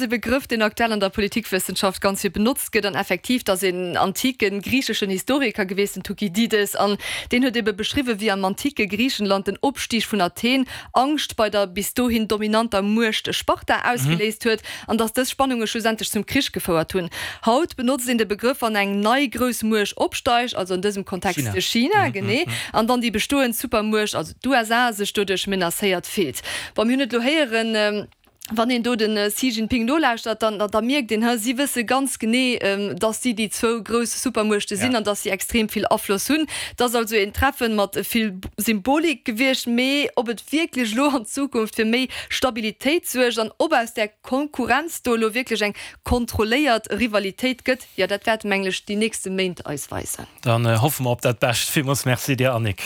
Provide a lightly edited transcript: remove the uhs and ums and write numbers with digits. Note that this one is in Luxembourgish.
E Begrëff, deen aktuell an der Politikwëssenschaft ganz vill benotzt gëtt. An effektiv, dat ass een antike griicheschen Historiker geweest, den Thukydides, an deen huet ebe beschriwwen, wéi am antike Griichenland den Opstig vun Athen Angscht bei der bis dohin dominanter Muecht Sparta ausgeléist huet, an datt dës Spannunge schlussendlech zum Krich gefouert hunn. Haut benotzt een de Begrëff, wann eng nei grouss Muecht opsteigt, also an dësem Kontext China, genee, an dann déi bestoend Supermuecht, also d'USA, sech doduerch menacéiert fillt. Bon, mir hunn et elo héieren. Wann een do de Xi Jinping nolauschtert, dann da mierkt een, si wësse ganz genee, datt si déi zwou grouss Supermuechte sinn an datt si extrem vill Afloss hunn. Et ass also een Treffen mat vill Symbolik gewiescht, mee ob et wierklech elo an Zukunft fir méi Stabilitéit suergt an ob aus där Konkurrenz do elo wierklech eng kontrolléiert Rivalitéit gëtt, jo dat wäerte mengen ech déi nächste Méint eis weisen. Dann hoffe mer op dat Bescht. Villmools Merci dir Annick.